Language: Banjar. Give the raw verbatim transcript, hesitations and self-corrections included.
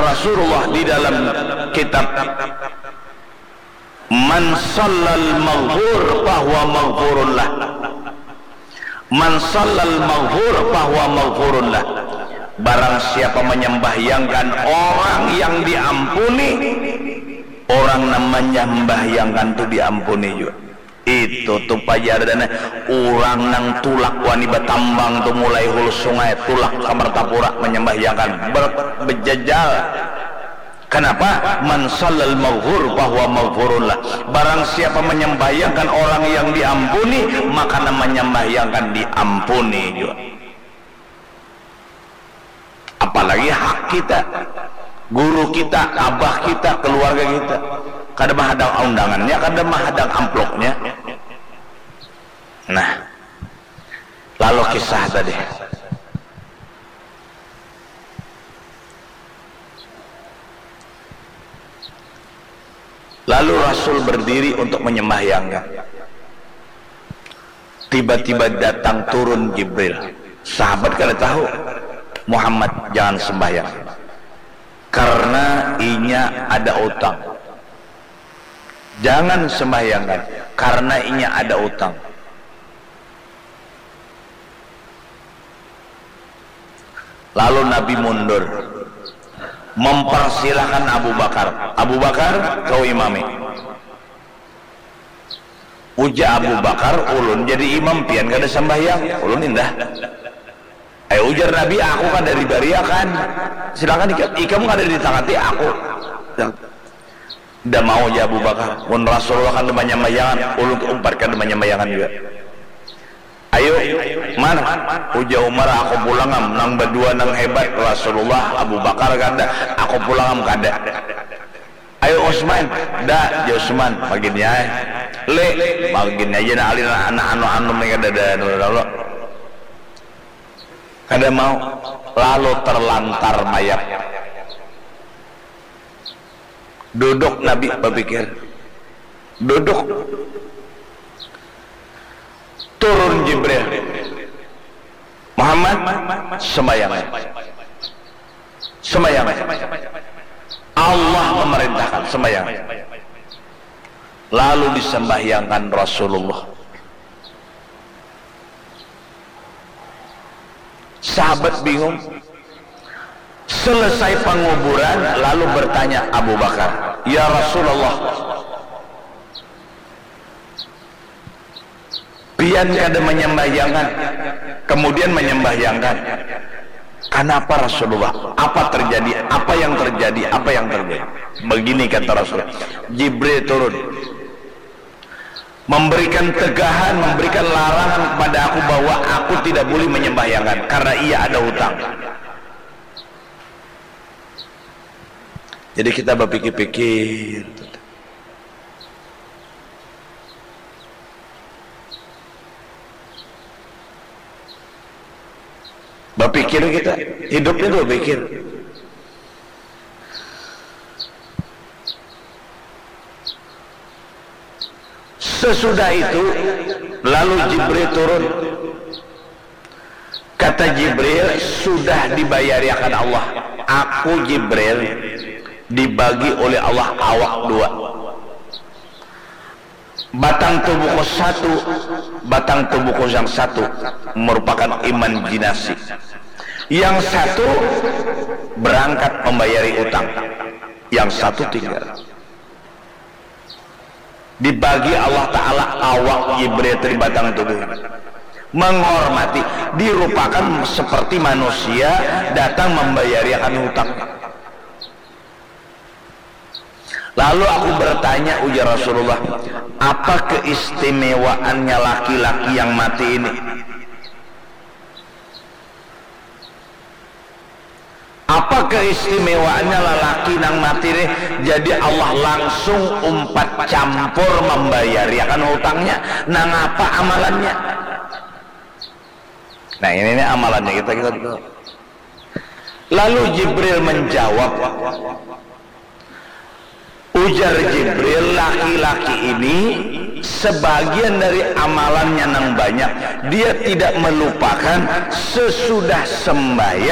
Rasulullah di dalam kitab, "Man sallal maghfur fahuwa maghfurun lah. Man sallal maghfur fahuwa maghfurun lah." Barang siapa menyembahyangkan orang yang diampuni, orang nang menyembahyangkan tu diampuni jua. Itu tu pajar dana, urang nang tulak wani batambang tu mulai hulu sungai, tulak ka Martapura manyambahyangkan, ber-, bejajal. Kanapa? "Man sallal maghfur fahuwa maghfurun lah." Barang siapa manyambahyangkan orang yang diampuni, maka nang manyambahyangkan diampuni jua. Apalagi hak kita, guru kita, abah kita, keluarga kita. Kada mahadang undangannya, kada mahadang amplopnya. Nah, lalu kisah tadi. Lalu Rasul berdiri untuk menyembahyangkan. Tiba-tiba datang turun Jibril. Sahabat kada tahu, "Muhammad, jangan sembahyang. Karena inya ada utang. Jangan sembahyangkan, karena inya ada utang." Lalu Nabi mundur, mempersilahkan Abu Bakar. "Abu Bakar, kau imami." Ujar Abu Bakar, "Ulun jadi imam, pian kada sambahyang." "Ulun indah." "Ayo," ujar Nabi, "aku kada dibariakan. Silakan ikam, ikam kada ditangati aku." Nda mau ja Abu Bakar. "Mun Rasulullah kada manyambayangan, ulun umpat kada manyambayangan jua." "Ayo, Umar," ujar Umar, "aku pulang am, nang badua nang hebat, Rasulullah, Abu Bakar kada, aku pulang am kada." "Ayo Utsman." "Da," ja Utsman, "magin ja ai." "Le, magin ja ai, nah alin anak anu-anu ni kada ada anu lalu." Kada mau, lalu terlantar mayat. Duduk Nabi bapikir. Duduk. Turun Jibril. "Muhammad, sembahyang. Sembahyang. Allah memerintahkan, sembahyang." Lalu disembahyangkan Rasulullah. Sahabat bingung. Selesai penguburan, lalu bertanya Abu Bakar, "Ya Rasulullah, pian kada menyambahyangkan, kemudian menyambahyangkan. Kanapa Rasulullah? Apa terjadi? Apa yang terjadi? Apa yang terjadi?" Begini kata Rasul, "Jibril turun, memberikan tegahan, memberikan larangan kepada aku bahwa aku tidak boleh menyembahyangkan karena ia ada hutang." Jadi kita bapikir-pikir. Bapikir kita, hidup itu bapikir. Sesudah itu, lalu Jibril turun. Kata Jibril, "Sudah dibayariakan Allah. Aku, Jibril, dibagi oleh Allah awak dua. Batang tubuhku satu, batang tubuhku yang satu merupakan imajinasi. Yang satu berangkat membayari utang, yang satu tinggal." Dibagi Allah Ta'ala awak Jibril dari batang tubuh. Menghormati, dirupakan seperti manusia datang membayariakan hutang. Lalu aku bertanya, ujar Rasulullah, "Apa keistimewaannya laki-laki yang mati ini? Apa keistimewaannya lalaki nang mati nih? Jadi Allah langsung umpat campur membayariakan hutangnya. Nang apa amalannya?" Nah, ini nih amalannya kita, kita dulu. Lalu Jibril menjawab, ujar Jibril, "Laki-laki ini sebagian dari amalannya nang banyak, dia tidak melupakan sesudah sembahyang